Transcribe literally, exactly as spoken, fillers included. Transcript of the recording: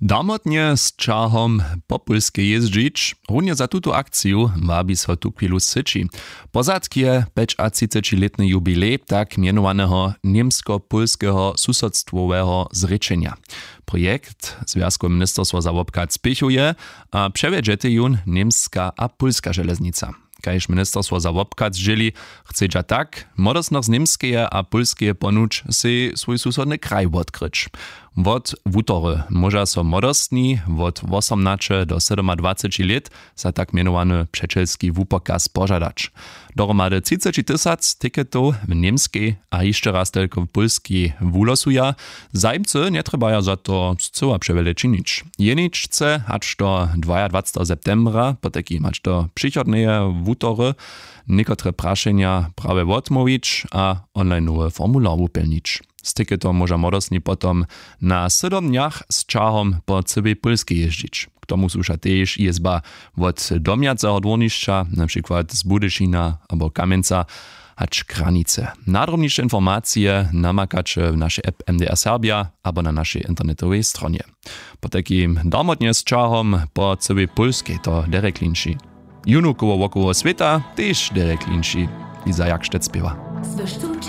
Damotnje z ćahom po pólskej jězdźić, runje za tutu akciju wabi so tuchwilu syći. Pozadk je pjećatřicećilětny jubilej tak mjenowaneho němsko-pólskeho susodstwoweho zrěčenja. Projekt zwjazkowe ministerstwo za wobchad spěchuje a přewjedźetej jón němska a pólska železnica. Kaž ministerstwo za wobchad zdźěli, chcedźa tak młodostnych z němskeje a pólskeje ponuć sej swój susodny kraj wotkryć. Wot wutory móža so młodostni wot wosomnaće do sydomadwaceći lět za tak mjenowany přećelski wupokaz požadać. Dohromady třiceći tysac tiketow w němskej a hišće raz telko w pólskej wulosuja. Zajimcy njetrjebaja za to scyła přewjele činić. Jeničce hač do dwajadwaceteho septembra potajkim hač do přichodneje wutory někotre prašenja prawje wotmołwić a onlineowy formular wupjelnić. Z tiketom móža młodostni potom na sydom dnjach z ćahom po cyłej pólskej jězdźić. K tomu słuša tež jězba wot domjaceho dwórnišća, na přikład z budyšina abo kamjenca, hač kranice. Nadrobniše informacije namakaće w našej app mdr serbja abo na našej internetowej stronje. Potajkim domotnje z ćahom po cyłej pólskej to derje klinči. Jónu koło wokoło swěta tež derje klinči. Iza jakštec spěwa. Słyštu